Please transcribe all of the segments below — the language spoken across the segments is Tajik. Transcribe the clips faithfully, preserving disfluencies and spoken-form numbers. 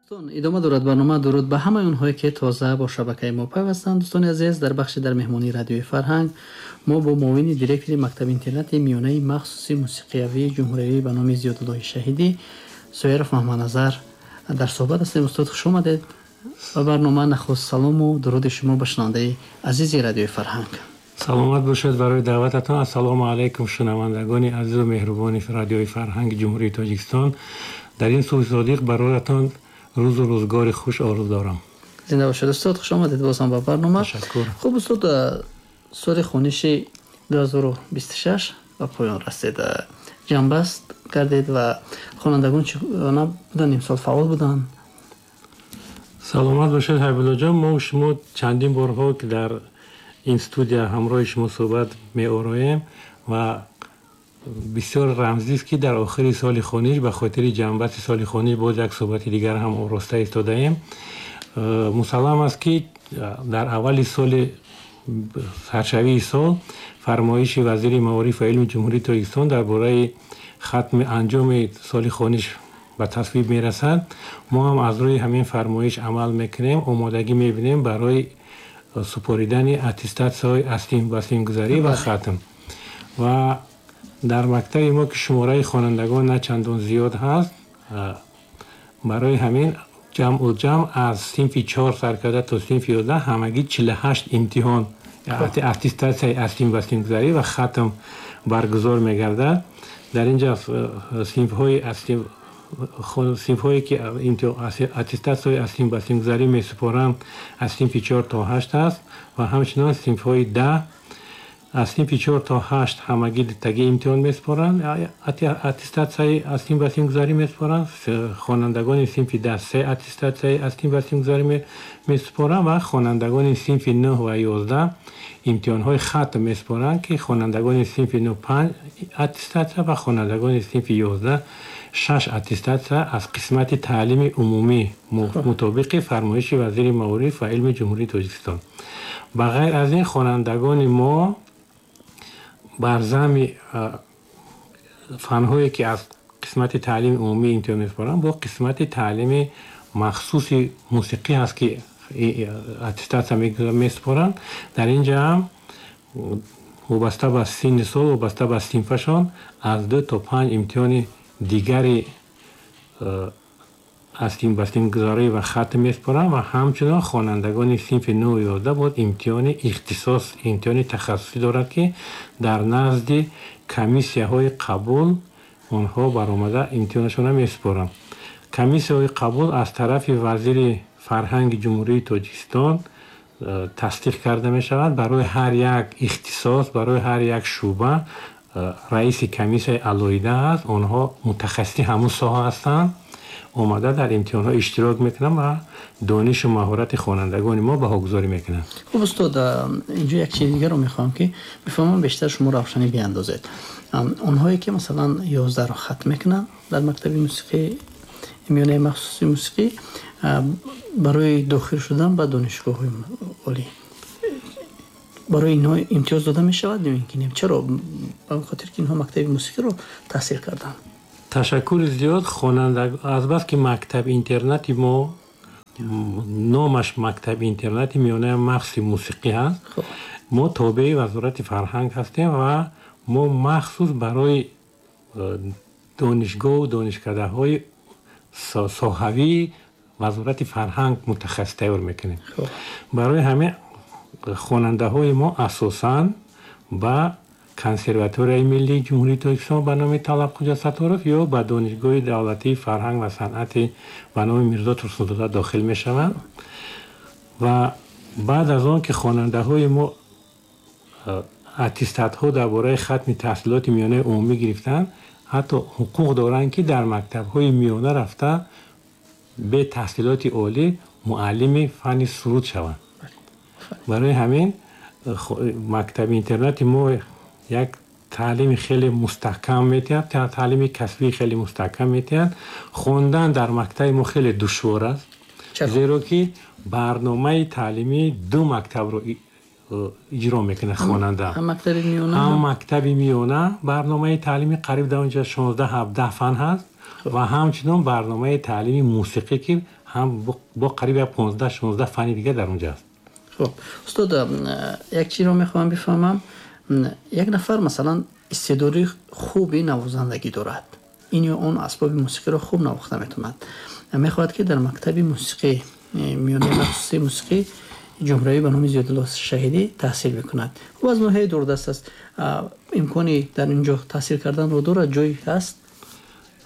Идома дорад барнома. Дуруд ба ҳамаи онҳое, ки тоза бо шабакаи мо пайвастанд. Дӯстони азиз, дар бахши дар меҳмонии радиои Фарҳанг мо бо муовини директори мактаби интернати миёнаи махсуси мусиқиявии ҷумҳуриявӣ ба номи Зиёдуллоҳи Шаҳидӣ Соиров Маҳмадназар дар суҳбат ҳастем. Устод, хуш омадед ба барнома. Нахуст салому дуруди шумо ба шунавандаи азизи радиои Фарҳанг. Саломат бошед барои даъвататон. Ассалому алайкум, шунавандагони азизу меҳрубони радиои Фарҳанги Ҷумҳурии Тоҷикистон. Дар ин субҳи содиқ бароятон рӯзу рӯзгори хуш орзу дорам. Зинда бошед, устод, хуш омадед боз ҳам ба барнома. Ташаккур. Хуб, устод, соли хониши ду ҳазору бисту шаш ба поён расид, ҷамъбаст кардед ва хонандагон чӣ гуна буданд имсол, фаъол буданд? Саломат бошед, Ҳабибуллоҷон. Мо шумо чандин борҳо ки дар ин студия ҳамроҳи шумо суҳбат меороем ва бисёр рамзист, ки дар охири соли хониш ба хотири ҷамъбасти соли хониш боз як суҳбати дигар ҳам ороста истодаем. э, мусаллам аст, ки дар аввали соли саршавии сол фармоиши вазири маориф ва илми Ҷумҳурии Тоҷикистон дар бораи хатми анҷоми соли хониш ба тасвиб мерасад. Мо ҳам аз рӯи ҳамин фармоиш амал мекунем, омодагӣ мебинем барои супоридани аттестатсияҳои аз ба синфгузарӣ ва хатм. Ва дар мактаби мо, ки шумораи хонандагон на чандон зиёд ҳаст, барои ҳамин ҷамъу ҷамъ аз синфи чор сар карда то синфи ёздаҳ ҳамагӣ чилу ҳашт имтиҳон аттестатсияи аз синф ба синфгузарӣ ва хатм баргузор мегардад. Дар ин ҷо синфҳои синфҳое ки аттестатсияҳои аз синф ба синфгузарӣ месупоранд, аз синфи чор то ҳашт аст ва ҳамчунон синфҳои даҳ. Аз синфи чор то ҳашт ҳамагӣ дутагӣ имтиҳон месупоранд, аттестатсияи аз синф ба синфгузарӣ месупоранд. Хонандагони синфи даҳ се аттестатсияи аз синф ба синфгузарӣ месупоранд ва хонандагони синфи нӯҳ ва ёздаҳ имтиҳонҳои хатм месупоранд, ки хонандагони синфи нӯҳ панҷ аттестатсия ва хонандагони синфи ёздаҳ шаш аттестатсия аз қисмати таълими умумӣ мутобиқи фармоиши вазири маориф ва илми Ҷумҳурии Тоҷикистон. Ба ғайр аз ин, хонандагони мо бар зами фанҳое ки аз қисмати таълими умумӣ имтиҳон месупоранд, бо қисмати таълими махсуси мусиқӣ ҳаст, ки аттестатсия месупоранд. Дар ин ҷа ҳам вобаста ба синни сол, вобаста ба синфашон аз ду то панҷ имтиҳони дигари аз синф ба синфгузарӣ ва хатм месупоранд. Ва ҳамчунон хонандагони синфи нӯҳу ёздаҳ боз имтиҳони ихтисос, имтиҳони тахассусӣ дорад, ки дар назди комиссияҳои қабул онҳо баромада имтиҳонашонро месупоранд. Комиссияҳои қабул аз тарафи вазири фарҳанги Ҷумҳурии Тоҷикистон э, тасдиқ карда мешавад. Барои ҳар як ихтисос, барои ҳар як шӯъба э, раиси комиссияи алоҳида ҳаст. Онҳо мутахассиси ҳамун соҳа ҳастанд, омада дар имтиҳонҳо иштирок мекунанд ва донишу маҳорати хонандагони мо баҳогузорӣ мекунанд. Хуб, устод, инҷо як чизи дигарро мехоҳам, ки бифаҳмам, бештар шумо равшанӣ биандозед. Онҳое ки, масалан, ёздаҳро хатм мекунанд дар мактаби мусиқӣ миёнаи махсуси мусиқӣ, барои дохил шудан ба донишгоҳҳои олӣ барои инҳо имтиёз дода мешавад ё ин ки не? Чаро? Ба он хотир ки инҳо мактаби мусиқиро таҳсил карданд. Ташаккури зиёд. Хонанда азбаски мактаби интернати мо номаш мактаби интернати миёнаи махсуси мусиқӣ ҳаст, мо тобеи Вазорати фарҳанг ҳастем ва мо махсус барои э, донишгоҳу донишкадаҳои соҳавии Вазорати фарҳанг мутахассис тайёр мекунем. Барои ҳамин хонандаҳои мо асосан ба Консерваторияи миллии Ҷумҳурии Тоҷикистон ба номи Талабхоҷа Сатторов ё ба Донишгоҳи давлатии фарҳанг ва санъати ба номи Мирзо Турсунзода дохил мешаванд. Ва баъд аз он ки хонандаҳои мо э, аттестатҳо дар бораи хатми таҳсилоти миёнаи умумӣ гирифтанд, ҳатто ҳуқуқ доранд, ки дар мактабҳои миёна рафта бе таҳсилоти олӣ муаллими фанни суруд шаванд. Барои ҳамин мактаби интернати мо як таълими хеле мустаҳкам метиҳад, таълими касбии хеле мустаҳкам метиҳад. Хондан дар мактаби мо хеле душвор аст, зеро ки барномаи таълимии ду мактабро иҷро мекунад хонанда. Ҳам мактаби миёна барномаи таълими қариб дар онҷа шонздаҳ ҳабдаҳ фан ҳаст ва ҳамчунон барномаи таълими мусиқӣ, ки ҳам бо қариб понздаҳ шонздаҳ фани дигар дар онҷо аст. Хуб устод, як чизро мехоҳам бифаҳмам. Як нафар масалан истеъдоди хуби навозандагӣ дорад, ин ё он асбоби мусиқиро хуб навохта метавонад, мехоҳад ки дар мактаби мусиқӣ миёнаи махсуси мусиқӣ ҷумҳуриявӣ ба номи Зиёдулло Шаҳидӣ таҳсил мекунад. Ӯ аз ноҳияи дурдаст аст, имкони дар инҷо таҳсил карданро дорад, ҷой ҳаст?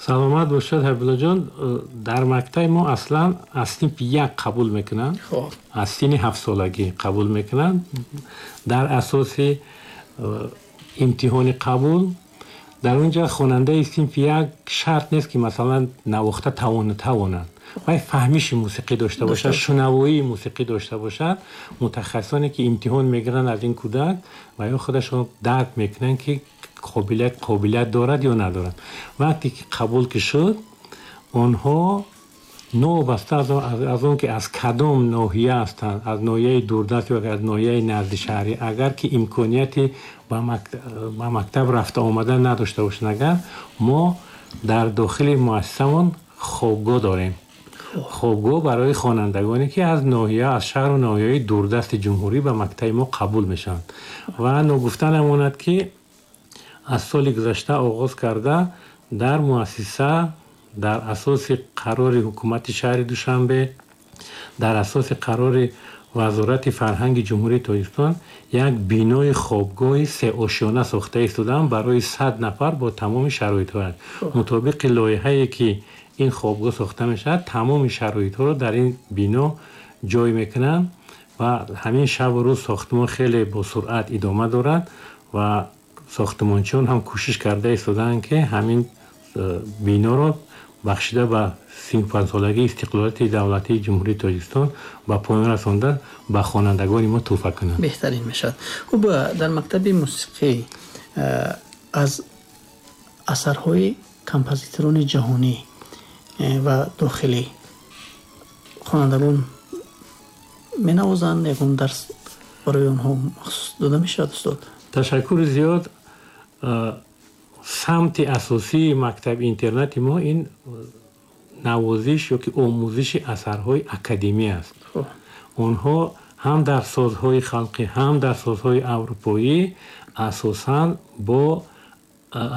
Саломат бошад Ҳабибуллоҷон. Дар мактаби мо аслан аз синфи як қабул мекунанд, аз синни ҳафтсолагӣ қабул мекунанд. Дар асоси имтиҳони қабул дар онҷо хонандаи синфи як шарт нест ки масалан навохта тавона тавонад, вай фаҳмиши мусиқӣ дошта бошад, шунавоии мусиқӣ дошта бошад. Мутахассисоне ки имтиҳон мегиранд аз ин кӯдак ва ё худашон дарк мекунанд ки қобилият қобилият дорад ё надорад. Вақте ки қабул ки шуд, онҳо новобаста аз он ки аз кадом ноҳия ҳастанд, аз ноҳияи дурдаст ё аз ноҳияи назди шаҳрӣ, агар ки имконияти ба мактаб рафта омадан надошта бошанд, агар мо дар дохили муассисамон хобгоҳ дорем. Хобгоҳ барои хонандагоне ки аз ноҳия, аз шаҳру ноҳияҳои дурдасти ҷумҳурӣ ба мактаби мо қабул мешаванд. Ва ногуфта намонад ки аз соли гузашта оғоз карда дар муассиса дар асоси қарори ҳукумати шаҳри Душанбе, дар асоси қарори Вазорати фарҳанги Ҷумҳурии Тоҷикистон як бинои хобгоҳи сеошёна сохта истодаанд барои сад нафар бо тамоми шароитҳояш. Мутобиқи лоиҳае ки ин хобгоҳ сохта мешавад, тамоми шароитҳоро дар ин бино ҷой мекунанд ва ҳамин шабу рӯз сохтмон хеле бо суръат идома дорад ва сохтмончиён ҳам кӯшиш карда истодаанд ки ҳамин биноро бахшида ба сию панҷсолагии истиқлолияти давлатии Ҷумҳурии Тоҷикистон ба поён расонда ба хонандагони мо тӯҳфа кунанд. Беҳтарин мешавад. Хуб, дар мактаби мусиқӣ аз асарҳои композиторони ҷаҳонӣ ва дохилӣ хонандагон менавозанд? Ягон дарс барои онҳо махсус дода мешавад устод? Ташаккури зиёд. Самти асосии мактаби интернати мо ин навозиш ё ки омӯзиши асарҳои академӣ аст. Онҳо ҳам дар созҳои халқӣ, ҳам дар созҳои аврупоӣ асосан бо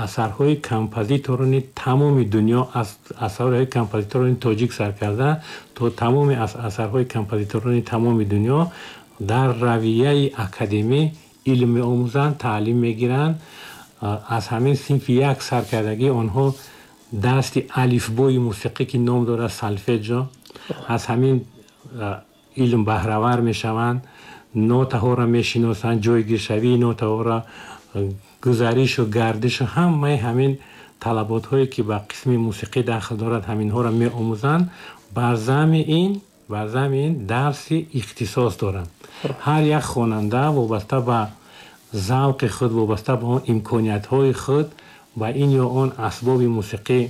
асарҳои композиторони тамоми дунё, аз асарҳои композиторони тоҷик сар карда то тамоми асарҳои композиторони тамоми дунё дар равияи академӣ илм меомӯзанд, таълим мегиранд. Аз ҳамин синфи як саркардагӣ онҳо дарси алифбои мусиқӣ ки ном дорад солфеҷо, аз ҳамин илм баҳравар мешаванд, нотаҳоро мешиносанд, ҷойгиршавии нотаҳоро, гузаришу гардишу ҳамаи ҳамин талаботҳое ки ба қисми мусиқӣ дахл дорад ҳаминҳоро меомӯзанд. Бар зами ин бар зами ин дарси ихтисос доранд. Ҳар як хонанда вобаста ба завқи худ, вобаста ба он имкониятҳои худ ба ин ё он асбоби мусиқӣ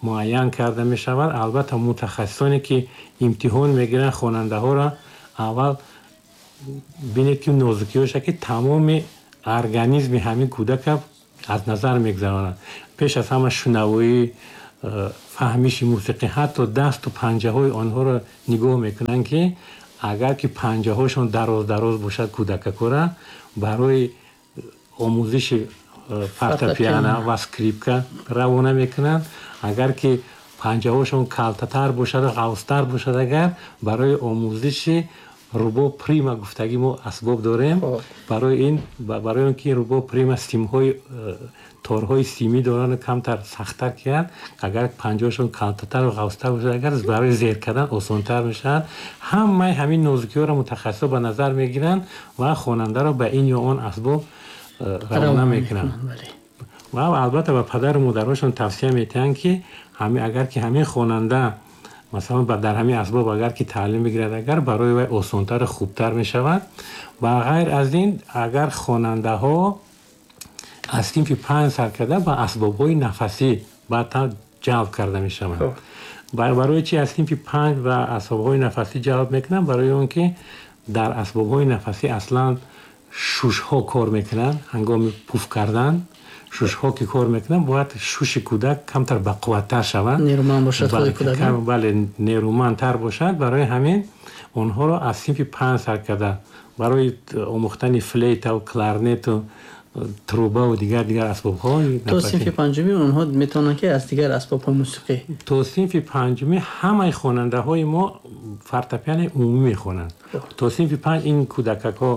муайян карда мешавад. Албатта мутахассисоне ки имтиҳон мегиранд хонандаҳоро аввал бинед ки нозукиҳоша ки тамоми организми ҳамин кӯдака аз назар мегузаронанд. Пеш аз ҳама шунавоӣ, фаҳмиши мусиқӣ, ҳатто дасту панҷаҳои онҳоро нигоҳ мекунанд ки агар ки панҷаҳошон дароз дароз бошад кӯдакакора барои омӯзиши фортепиано ва скрипка равона мекунанд. Агар ки панҷаҳошон калтатар бошад, ғавзтар бошад, агар барои омӯзиши рубоб прима гуфтагӣ мо асбоб дорем. Барои ин, барои он ки рубоб прима симҳои торҳои симӣ доранд камтар сахттар киянд, агар панҷаҳошон калтатар ва ғавзтар бошад, агар барои зер кардан осонтар мешавад. Ҳамаи ҳамин нозукиҳоро мутахассисо ба назар мегиранд ва хонандаро ба ин ё он асбоб равона мекунанд. Ва албатта ба падару модарошон тавсия метиҳанд ки агар ки ҳамин хонанда масалан дар ҳамин асбоб агар ки таълим бигирад, агар барои вай осонтару хубтар мешавад. Ба ғайр аз ин, агар хонандаҳо аз синфи панҷ сар карда ба асбобҳои нафасӣ баъдтар ҷалб карда мешаванд. Барои чи аз синфи панҷ ба асбобҳои нафасӣ ҷалб мекунанд? Барои он ки дар асбобҳои нафасӣ аслан шушҳо кор мекунанд ҳангоми пуф кардан. Шушҳо ки кор мекунанд, бояд шуши кӯдак камтар бақувваттар шавад, нерӯманд бошад худи кӯдак. Бале, нерӯмандтар бошад. Барои ҳамин онҳоро аз синфи панҷ сар карда барои омӯхтани флейтаву кларнету труба ва дигар дигар асбобҳо. То синфи панҷумӣ онҳо метавонанд ки аз дигар асбобҳои мусиқӣ. То синфи панҷумӣ ҳамаи хонандаҳои мо фортепианои умумӣ мехонанд. То синфи панҷ ин кӯдакакҳо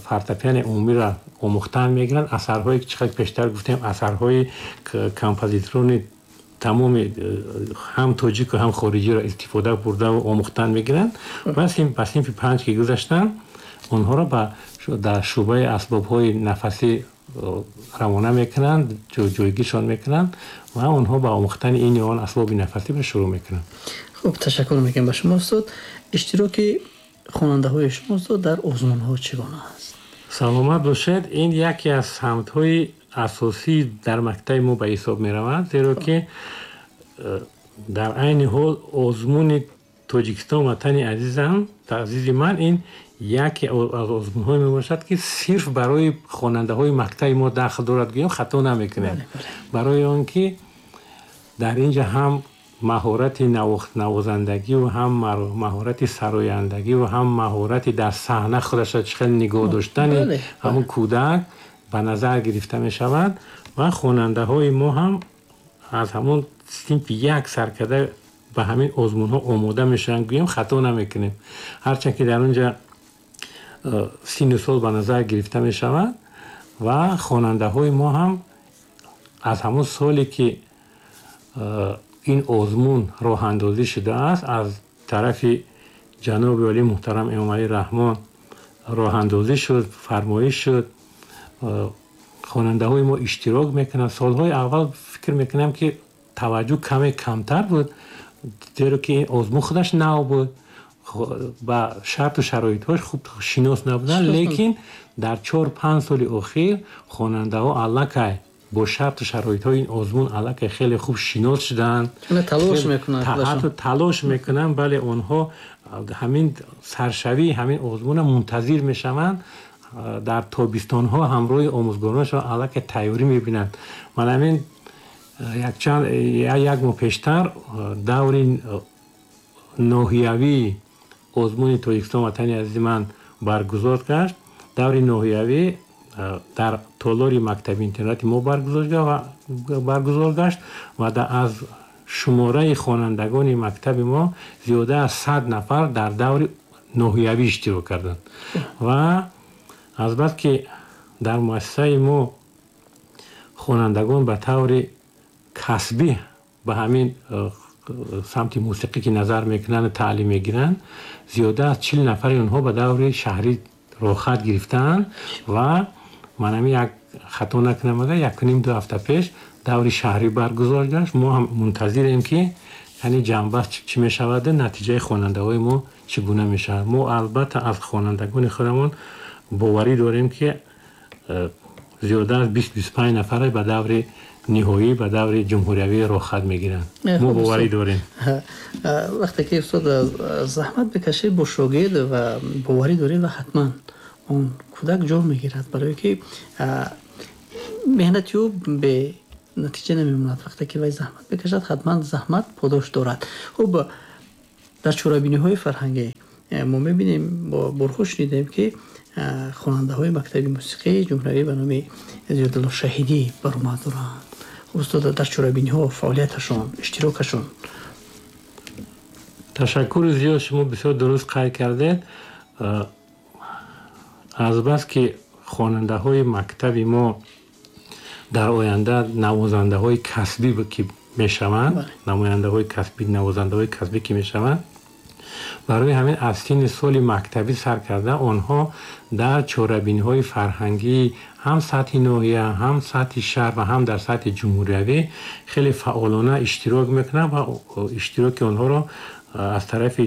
фортепианои умумиро омӯхтан мегиранд. Асарҳое ки чӣ қадр пештар гуфтем, асарҳои композиторони тамоми ҳам тоҷику ҳам хориҷиро истифода бурдаву омӯхтан мегиранд. Ва ба синфи панҷ ки гузаштанд, онҳоро дар шӯъбаи асбобҳои нафасӣ равона мекунанд, ҷойгиршон мекунанд ва онҳо ба омӯхтани ин ё он асбоби нафасӣ шурӯъ мекунанд. Хуб, ташаккур мекунем ба шумо устод. Иштироки хонандаҳои шумо устод дар озмунҳо чӣ гуна аст? Саломат бошед. Ин яке аз самтҳои асосӣ дар мактаби мо ба ҳисоб меравад, зеро ки дар айни ҳол озмуни Тоҷикистон ватани азизам, азизи ман, ин яке аз озмунҳое мебошад ки сирф барои хонандаҳои мактаби мо дахл дорад, гӯем хато намекунем. Барои он ки дар инҷа ҳам маҳорати навозандагӣ ва ҳам маҳорати сарояндагӣ ва ҳам маҳорати дар саҳна худашро чӣ хел нигоҳ доштани ҳамун кӯдак ба назар гирифта мешавад ва хонандаҳои мо ҳам аз ҳамун синфи як сар карда ба ҳамин озмунҳо омода мешаванд, гӯем хато намекунем. Ҳарчанд ки дар онҷа синну сол ба назар гирифта мешавад ва хонандаҳои мо ҳам аз ҳамон соле ки ин озмун роҳандозӣ шудааст, аз тарафи ҷаноби олӣ муҳтарам Эмомалӣ Раҳмон роҳандозӣ шуд, фармоиш шуд, хонандаҳои мо иштирок мекунанд. Солҳои аввал фикр мекунам ки таваҷҷӯҳ каме камтар буд, зеро ки ин озмун худаш нав буд, ба шарту шароитҳош хуб шинос набуданд. Лекин дар чор панҷ соли охир хонандаҳо аллакай бо шарту шароитҳои ин озмун аллакай хеле хуб шинос шуданд, талош мекунанд, ҳатто талош мекунанд. Бале, онҳо ҳамин саршавии ҳамин озмунро мунтазир мешаванд, дар тобистонҳо ҳамроҳи омӯзгоронашон аллакай тайёрӣ мебинанд. Ман ҳамин якчанд як моҳ пештар даври ноҳиявии озмуни Тоҷикистон ватани азизи ман баргузор гашт. Даври ноҳиявӣ дар толори мактаби интернати мо баргузор гашт ва аз шумораи хонандагони мактаби мо зиёда аз сад нафар дар даври ноҳиявӣ иштирок карданд. Ва азбаски дар муассисаи мо хонандагон ба таври касбӣ ба ҳамин самти мусиқӣ ки назар мекунанд таълим мегиранд, зиёда аз чил нафари онҳо ба даври шаҳрӣ роҳхат гирифтаанд ва ман ҳамин як хато накунам агар якуним ду ҳафта пеш даври шаҳрӣ баргузор гашт. Мо ҳам мунтазирем ки яъне ҷанбаст чӣ мешавад, натиҷаи хонандаҳои мо чӣ гуна мешавад. Мо албатта аз хонандагони худамон боварӣ дорем ки зиёда аз бист бисту панҷ нафар ба даври ниҳоӣ, ба даври ҷумҳуриявӣ роҳхат мегиранд. Мо боварӣ дорем. Вақте ки устод заҳмат бикашед бо шогирд ва боварӣ доред ва ҳатман он кӯдак ҷо мегирад, барое ки меҳнати ӯ бе натиҷа намемонад. Вақте ки вай заҳмат бикашад, ҳатман заҳмат подош дорад. Хуб, дар чорабиниҳои фарҳангӣ мо мебинем, борҳо шунидем ки хонандаҳои мактаби мусиқии ҷумҳуриявӣ ба номи Зиёдулло Шаҳидӣ баромад доранд. Устод, дар чорабиниҳо фаъолияташон, иштирокашон. Ташаккури зиёд, шумо бисёр дуруст қайд кардед. Азбаски хонандаҳои мактаби мо дар оянда навозандаҳои касбӣ ки мешаванд, намояндаҳои касбӣ, навозандаҳои касбӣ ки мешаванд, барои ҳамин аз синни соли мактабӣ сар карда онҳо дар чорабиниҳои фарҳангӣ ҳам сатҳи ноҳия, ҳам сатҳи шаҳр ва ҳам дар сатҳи ҷумҳуриявӣ хеле фаъолона иштирок мекунанд ва иштироки онҳоро аз тарафи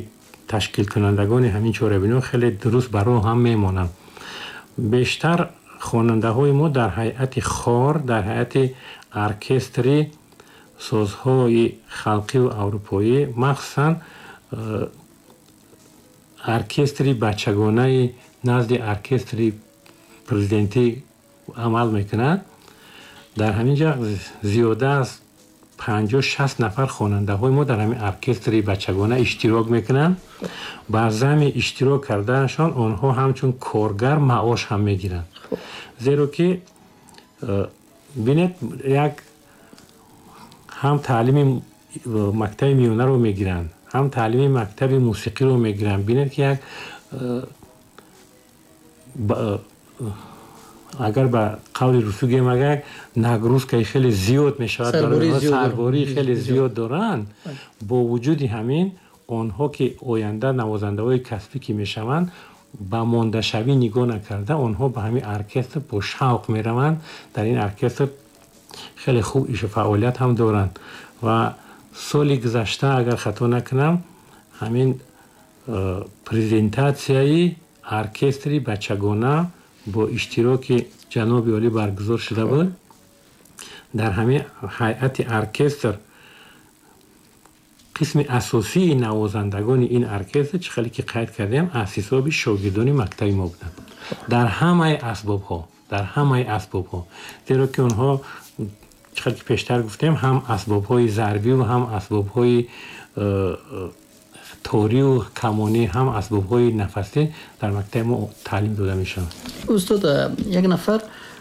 ташкилкунандагони ҳамин чорабиниҳо хеле дуруст ба роҳ ҳам мемонанд. Бештар хонандаҳои мо дар ҳайати хор, дар ҳайати оркестри созҳои халқиву аврупоӣ, махсусан оркестри бачагонаи назди оркестри президентӣ амал мекунад. Дар ҳамин ҷо зиёда аз панҷоҳ шаст нафар хонандаҳои мо дар ҳамин оркестри бачагона иштирок мекунанд. Ба зами иштирок карданашон онҳо ҳамчун коргар маош ҳам мегиранд. Зеро ки бинед, як ҳам таълими мактаби миёнаро мегиранд, ҳам таълими мактаби мусиқиро мегиранд. Бинед ки як агар ба қавли русӣ гӯем, агар нагрузкаи хеле зиёд мешавад, сарбории хеле зиёд доранд. Бо вуҷуди ҳамин онҳо ки оянда навозандаҳои касбӣ ки мешаванд, ба мондашавӣ нигоҳ накарда, онҳо ба ҳамин оркестр бо шавқ мераванд. Дар ин оркестр хеле хуб ишу фаъолият ҳам доранд. Ва соли гузашта, агар хато накунам, ҳамин презентатсияи оркестри бачагона бо иштироки ҷаноби олӣ баргузор шуда буд. Дар ҳамин ҳайати оркестр қисми асосии навозандагони ин оркестр, чӣ хеле ки қайд кардем, аз ҳисоби шогирдони мактаби мо буданд. Дар ҳамаи асбобҳо, дар ҳамаи асбобҳо, зеро ки онҳо, чӣ хеле ки пештар гуфтем, ҳам асбобҳои зарбиву ҳам асбобҳои торию камонӣ, ҳам асбобҳои нафасӣ дар мактаби мо таълим дода мешаванд. Устод, як нафар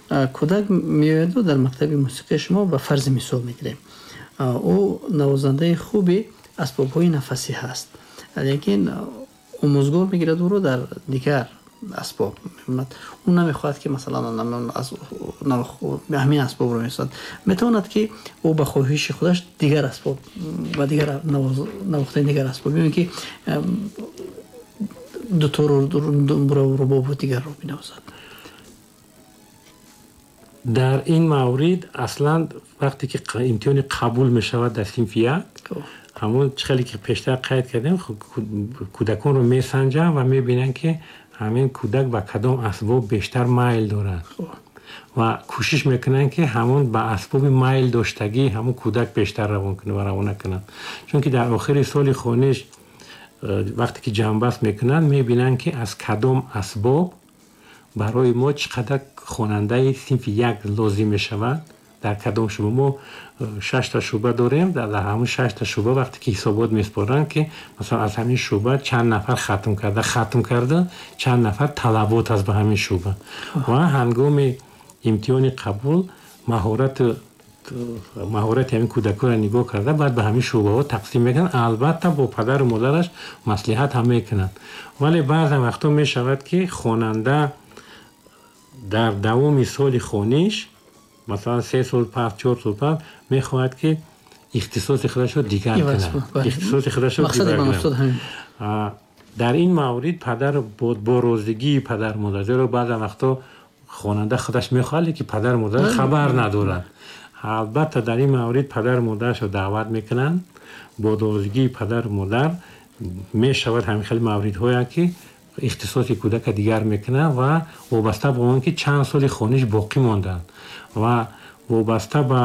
кӯдак меояду дар мактаби мусиқии шумо, ба фарзи мисол мегирем, ӯ навозандаи хуби асбобҳои нафасӣ ҳаст, лекин омӯзгор мегирад ӯро дар дигар асбоб мемонад. Ӯ намехоҳад ки масалан ҳамин асбобро месозад. Метавонад ки ӯ ба хоҳиши худаш дигар асбоб ва дигар навохтани дигар асбоб, ё ки дутору рубобу дигарро бинавозад. Дар ин маврид аслан вақте ки имтиҳони қабул мешавад дар синфи як, ҳамон чӣ хеле ки пештар қайд кардем, кӯдаконро месанҷанд ва мебинанд ки ҳамин кӯдак ба кадом асбоб бештар майл дорад ва кӯшиш мекунанд ки ҳамон ба асбоби майл доштагӣ ҳамон кӯдак бештар равон кунад ва равона кунанд. Чунки дар охири соли хониш вақте ки ҷамъбаст мекунанд, мебинанд ки аз кадом асбоб барои мо чӣ қадар хонандаи синфи як лозим мешавад, дар кадом шӯъба. Мо шашта шӯъба дорем, дар ҳамон шашта шӯъба вақте ки ҳисобот меспоранд ки масалан аз ҳамин шӯъба чанд нафар хатм карда, хатм карда чанд нафар талабот аст ба ҳамин шӯъба. Ва ҳангоми имтиҳони қабул маҳорат маҳорати ҳамин кӯдаконро нигоҳ карда, баъд ба ҳамин шӯъбаҳо тақсим мекунанд. Албатта бо падару модараш маслиҳат ҳам мекунанд. Вале баъзан вақтҳо мешавад ки хонанда дар давоми соли хониш, масалан се сол пас, чор сол пас, мехоҳад ки ихтисоси худашро дигар кунад, ихтисоси худашро дигар кунад. Дар ин маврид падар бо розигии падар модар, зеро баъзан вақтҳо хонанда худаш мехоҳад, лекин падар модар хабар надорад. Албатта дар ин маврид падар модарашро даъват мекунанд. Бо розигии падар модар мешавад ҳамин хел мавридҳое ки ихтисоси кӯдака дигар мекунад ва вобаста ба он ки чанд соли хониш боқӣ монданд ва вобаста ба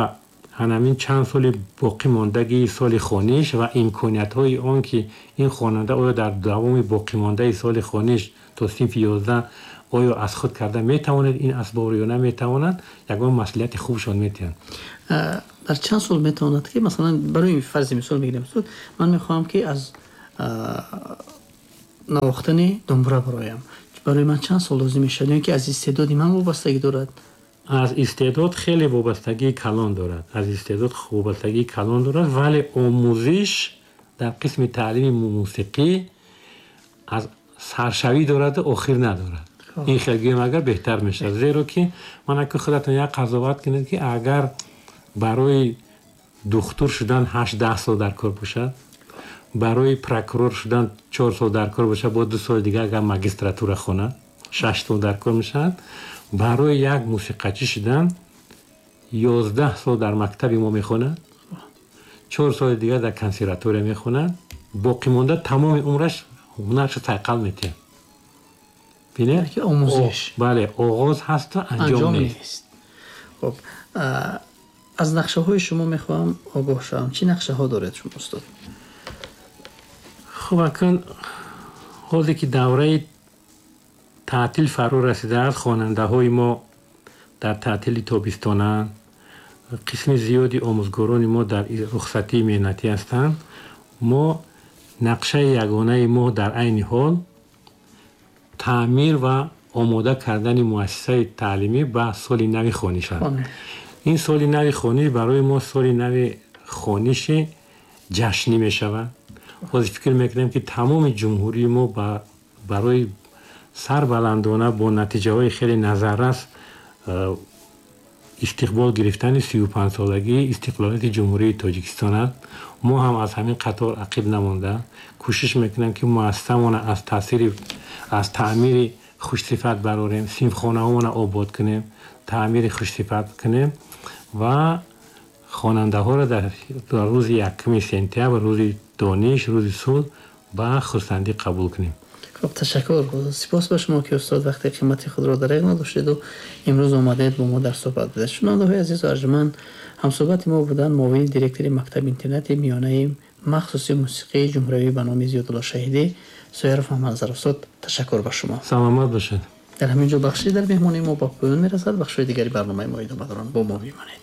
ҳамин чанд соли боқӣ мондагии соли хониш ва имкониятҳои он ки ин хонанда оё дар давоми боқимондаи соли хониш то синфи ёздаҳ оё аз худ карда метавонад ин асбобро ё наметавонад, ягон маслиҳати хубшон метиҳанд. Дар чанд сол метавонад ки масалан барои фарзи мисол мегирем, ман мехоҳам ки аз навохтани думбура бароям, барои ман чанд сол лозим мешавад, ё ки аз истеъдоди ман вобастагӣ дорад? Аз истеъдод хеле вобастагии калон дорад, аз истеъдод вобастагии калон дорад, вале омӯзиш дар қисми таълими мусиқӣ аз саршавӣ дораду охир надорад. Ин хел гӯем агар беҳтар мешавад, зеро ки ман ака худатон як қазоват кунед ки агар барои духтур шудан ҳашт даҳ сол дар кор бошад, барои прокурор шудан чор сол дар кор бошад, бо ду соли дигар агар магистратура хонад шаш сол дар кор мешавад, барои як мусиқачӣ шудан ёздаҳ сол дар мактаби мо мехонад, чор соли дигар дар консерватория мехонад, боқимонда тамоми умраш ҳунарашро сайқал метиҳад. Бинед, омӯзиш бале, оғоз ҳасту анҷом нест. Хуб, аз нақшаҳои шумо мехоҳам огоҳ шавам. Чӣ нақшаҳо доред шумо, устод? Хуб, акун ҳоле ки давраи таътил фаро расидааст, хонандаҳои мо дар таътили тобистонанд Қисми зиёди омӯзгорони мо дар рухсатии меҳнатӣ ҳастанд. Мо нақшаи ягонаи мо дар айни ҳол таъмир ва омода кардани муассисаи таълимӣ ба соли нави хониш аст. Ин соли нави хониш барои мо соли нави хониши ҷашнӣ мешавад. Ҳозир фикр мекунем, ки тамоми ҷумҳурии мо барои сарбаландона бо натиҷаҳои хеле назаррас истиқбол гирифтани сию панҷсолагии истиқлолияти Ҷумҳурии Тоҷикистон аст. Мо ҳам аз ҳамин қатор ақиб намонда кӯшиш мекунем, ки муассисамона аз таъсири аз таъмири хушсифат барорем, синфхонаҳомона обод кунем, таъмири хушсифат кунем ва хонандаҳоро дар рӯзи якуми сентябр, рӯзи дониш, рӯзи сулҳ ба хурсандӣ қабул кунем. Хуб, ташаккур. Сипос ба шумо, ки устод вақти қимати худро дареғ надоштед ва имрӯз омадед бо мо дар суҳбат будед. Шунавандаҳои азизу арҷманд, ҳамсуҳбати мо буданд муовини директори мактаби интернати миёнаи махсуси мусиқии ҷумҳуриявӣ ба номи Зиёдулло Шаҳидӣ Соиров Муҳаммадназар. Устод, ташаккур ба шумо. Саломат бошед. Дар ҳамин ҷо бахши дар меҳмонии мо ба поён мерасад. Бахшҳои дигари барномаи мо идома доранд. Бо мо бимонед.